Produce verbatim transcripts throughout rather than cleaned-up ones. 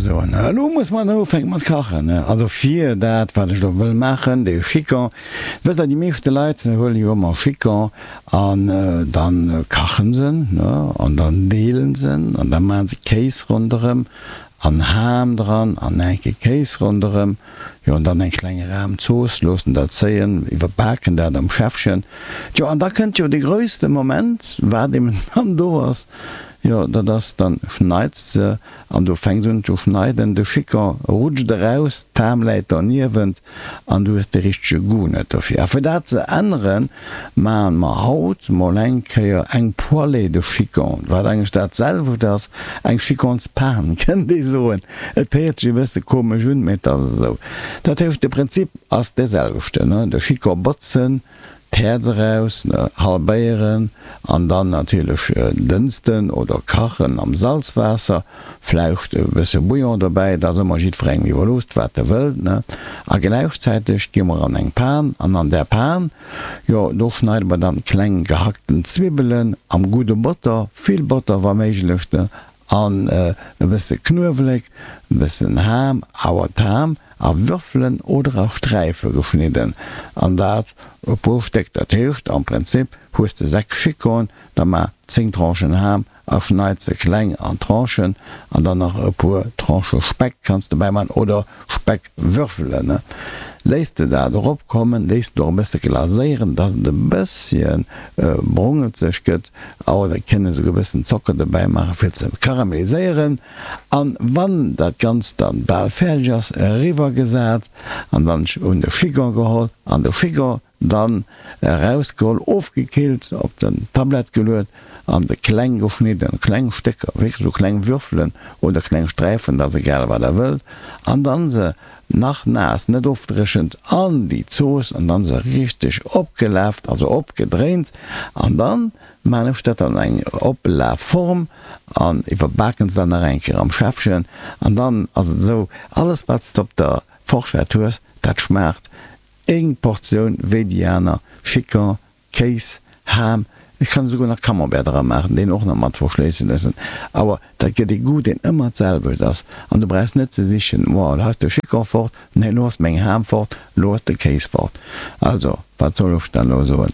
soen. Elo muss mer dann ufänke mat kachen. Also fir dat, wat ech elo wëll maachen, de Chicon. Wësst Der, déi meeschte Leit huele jo ëmmer Chicon an da kachen se en, ne, an dann deelen se en an da maache se Kéis ronderëm an Ham dran an enke Kéis ronderëm, jo, an dann eng kleng Rahmzooss, loossen dat zéien, iwwerbaken dat am Schäffchen. Tjo, an da kënnt jo dee grösste Moment, wat eben dann do ass, jo, dat ass, dann schneits de an du fänks un ze schneiden, de Chicon rutscht eraus, d'Ham läit derniewent an du hues de richtege Goût net dofir. A fir dat ze änneren, maachen mer haut mol eng Kéier eng Poêlée de chicon, wat eigentlech dat selwecht ass, eng Chiconspan kënnt ee soen. Et héiert sech e bësse komesch un, mee et ass esou. Dat heescht, de Prinzip ass dee selwechten, de Chicon botzen, D'Häerz eraus, halbéieren an dann natierlech dënsten oder kachen am Salzwaasser, vläicht e bësse Bouillon dobäi, dat ass ëmmer jiddwerengem iwwerloosst wat e wëllt, ne. A gläichzäiteg gi mer an eng Pan an an där Pan, jo do schneide mer dann kleng gehackten Zwibbelen am gudde Botter, vill Botter wa méiglech, ne, an e bësse Knuewelek, e bëssen Ham, awer d'Ham a Würfelen oder a Sträife geschnidden, an dat e puer Stéck. Dat heescht am Prinzip hues de sechs Chicoen, da maach zéng Tranchen Ham a schneit se kleng an Tranchen, an dann nach e puer Tranchë Speck kanns de bäiman oder Speckwürfelen. Léiss de dat eropkommen, léiss de och e bësse glaséieren, dass et e bësschen brongelzeg gëtt, oder et kënnt een esouguer e bëssen Zocker dobäi maachen, fir ze karameliséieren. An wann dat Ganzt dann bal fäerdeg ass, eriwwer gesat an dann un de Chigon geholl an de Chigon dann erausgeholl, ofgekillt, op den Tablett geluet an se kleng geschnidden, kleng Stécker, wierklech esou kleng Würfelen oder kleng Sträifen, dat ass egal wat der wëllt, an dann se nach naass, net ofdréchent, an déi Zooss an dann se richteg opgelaaft, also opgedréint an dann maan ech dat an eng Oplafform an iwwerbaken se dann nach eng Kéier am Schäffchen an dann ass et esou, alles wat s de op der Forschett hues, dat schmaacht eng Portioun wéi déi aner, Chicon, Kéis, Ham, ech kann esouguer nach Camembert dra maachen, deen och nach mat verschléisse loossen, awer dat gëtt ee Goût, deen ëmmer d'selwecht ass an du brauchs net ze sichen, oh elo ass de Chicon fort, nee elo ass meng Ham fort, elo ass de Kéis fort. Also, wat soll ech dann elo soen,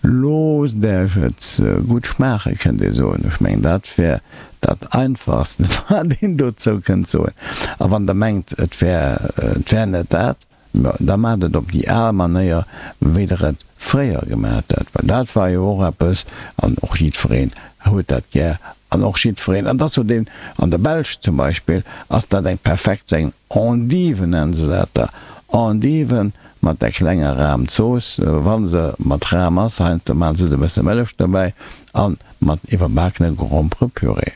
loosst Äech et gutt schmaachen, kënnt ee soen. Ech mengen, dat wär dat Einfachst, wat een dozou kënnt soen. A wann Der mengt, et wär, et wär net dat, Da maacht et op déi al Manéier, wéi Der et fréier gemaacht hutt, well dat war jo och eppes, an och jiddwereen huet dat gär, an och jiddwereen, an dat ass jo deen, an der Belsch zum Beispill ass dat eng perfekt, eng Endive nennen se dat da, Endive mat där klenger Rahmzooss, wa se mat Rahm ass, heiansdo maache se e bësse Mëllech dobäi, a mat iwwerbakene Gromperepüree.